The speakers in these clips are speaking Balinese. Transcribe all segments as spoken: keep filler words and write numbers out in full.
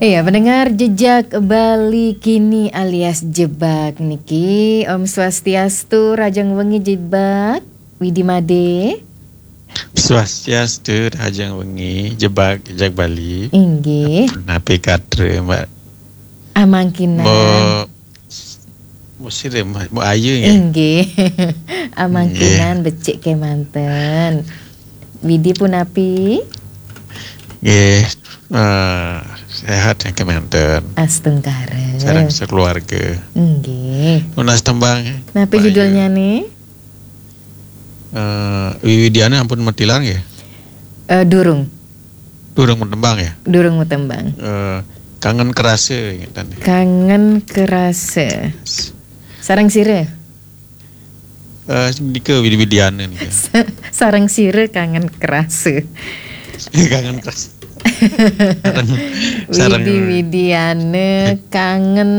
Iya, pendengar Jejak Bali Kini alias Jebak niki. Om Swastiastu, rahajeng wengi Jebak. Widi Made. Swastiastu, rahajeng wengi Jebak, Jejak Bali. Inggih. Napi katra, Mbak? Amangkinan. Mbok, Mbok Sire, Mbok Ayu nggih? Inggih. Amangkinan. Nggih. Becik kemanten. Widi punapi? Nggih, eh, sehat ya kemanten. Astungkara. Sareng sekeluarga. Nggih. Nunas tembang. Napi judulnya nih? Eh, Wiwidiana ampun matilar nggih? Eh, durung. Durung matembang ya? Durung matembang. Eh, Kangen Kerasa, ngeten. Kangen Kerasa. Sareng sira? Eh, nika Widi Widiana nika. Sareng sira Kangen Kerasa. Kangen Kerasa. Sareng, sareng Widi Widiana, Kangen,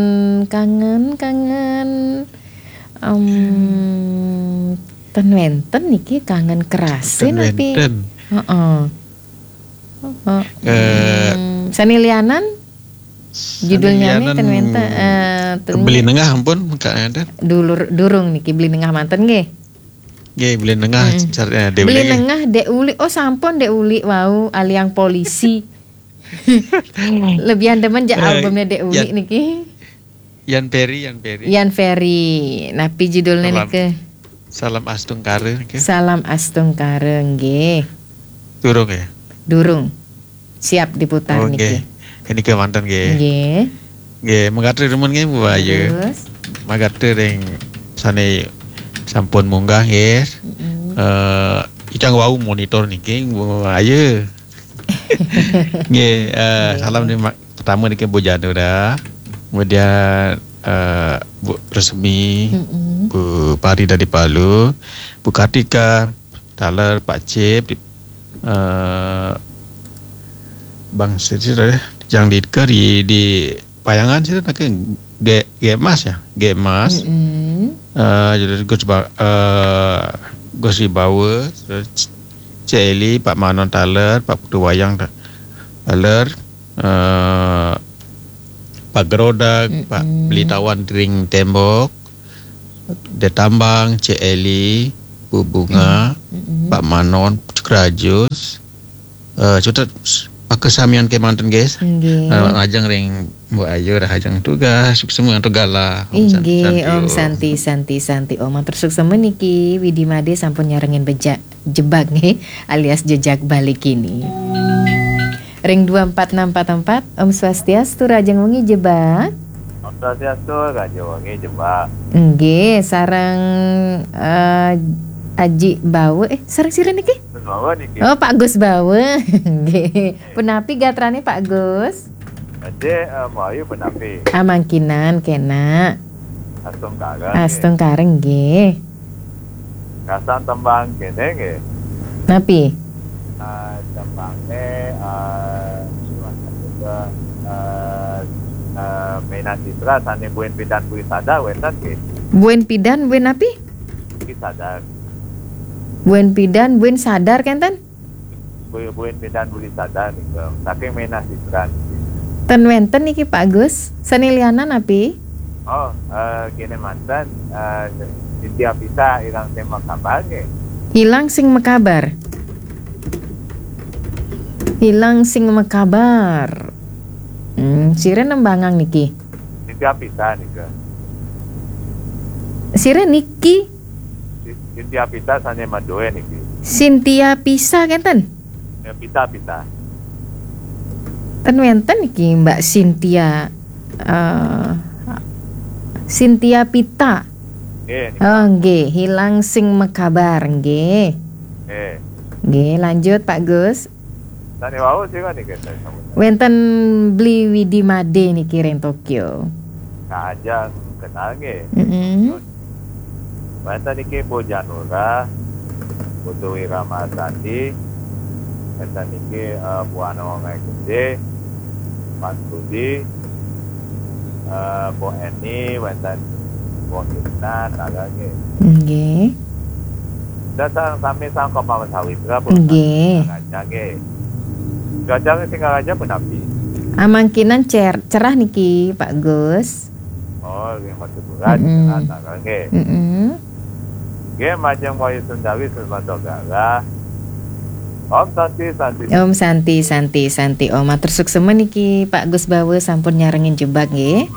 Kangen, Kangen. Em, ten wenten niki Kangen Kerasa ten napi? Wenten. Heeh. Heeh. Eh, hmm, sane lianan? Judulnya nih ten wenten, eh, ten Beli Nengah ampun, Kak Eden. Dulur, durung niki Beli Nengah manten nggih. Nggih, Beli Nengah, hmm, car-, eh, Dek Beli Uli nggih. Nengah Dek Uli. Oh, sampun Dek Uli wau aliang polisi. Lebihan demen jak, eh, albumnya Dek Uli ya. Niki. Yan Ferry, Yan Ferry. Yan Ferry. Napi judulnya niki? Salam Astungkara niki. Salam Astungkara nggih. Durung ya? Durung. Siap diputar niki. Oh, nggih. Niki manten nggih. Nggih. Nggih, mangga remen nggih, Bu Ayu. Terus? Mangga ring sane sampun munggah nggih. Mm-mm. Eh, ingkang wau monitor niki, Bu Ayu. Nggih, eh, nggih. Salam nih, Mak. Pertama niki Bu Janura, kemudian, eh, Bu Resmi, mm-mm, Bu Pari dari Palu, Bu Kartika, taler, Pak Cip, eh, Bang Siti, eh, yang di, di, di Payangan situ niki Ge-, Ge Mas ya, Ge Mas. Mm-mm. Eh, jadi Gus Ba-, eh, Gus Wibawa, terus Cik Eli, Pak Manon taler, Pak Putu Wayang ta-, taler, eh, Pak Gerodak, Pak, mm-mm, Beli Tawan ring Tembok, Detambang, Cik Eli, Bu Bunga, mm-mm, Pak Manon, Cukrajus, eh, cutet pakasamian kemanten, guys. Nggih. Eh, ajeng ring Mbok Ayu, rahajeng tugas, suksma antuk galah. Om Santi, inggih, Santi, Om. Om Santi, Santi, Santi, Om. Matur suksma niki, Widi Made sampun nyarengin bejak, Jebak nggih, alias Jejak Bali Kini. Ring dua empat enam empat empat, Om Swastiastu, rahajeng wengi Jebak. Om Swastiastu, rahajeng wengi Jebak. Nggih, sareng, eh, Aji Bawa, eh, sareng sira niki? Gus Bawa niki. Oh, Pak Gus Bawa. Nggih. Punapi gatrane Pak Gus? Ade, eh, Mbok Ayu punapi? Amangkinan kena. Astungkara nggih. Astungkara nggih. Gasan tembang kene nggih. Napi? Eh, tembange, eh, eh, eh, Mena Citra sane Buen Pidan Bui Sadar wenten nggih. Buen Pidan, Buen napi? Bui Sadar. Buen Pidan, Buen Sadar kenten? Buen Pidan Bui Sadar niku. Saking Mena Citra. Ten wenten niki Pak Gus. Sane lianan napi? Oh, eh, kene manten, eh, Cynthia Pisa, Ilang Sing Makabar nggih. Ilang Sing Makabar. Ilang Sing Makabar. Hmm, sira nembangang niki. Cynthia Pisa nika. Sira niki? Si-, Cynthia Pisa sane madoe niki. Cynthia Pisa kenten? Ya, Pisa, Pisa. Ten wenten niki Mbak Cynthia, eh, Cynthia Pita. Nggih, nika. Oh, nggih, Ilang Sing Makabar, nggih. Nggih. Nggih, lanjut Pak Gus. Sane wau sira niki, sami. Wenten Bli Widi Made niki ring Tokyo. Nah, aja kenal nggih. Mm-mm. Wenten niki Bu Janura, Putu Wira Marsandi, wenten niki, eh, Bu Ana Wongai Gede, Mas Budi, eh, Bu Eni, wenten Bu Hipna, taler nggih. Nggih. Sareng sami sangka Mama Sawitra pun. Nggih. Singaraja nggih. Cuaca Singaraja punapi? Amangkinan cer- cerah niki, Pak Gus. Oh, nggih, masih bulan. Mm-mm. Nah, nah, nggih. Mm-mm. Nggih, majeng Wayu Sundawi Sumbanto Garah. Om Santi, Santi. Om Santi, Santi, Santi. Om, matur suksema niki Pak Gus Bawa sampun nyarengin Jebak nggih.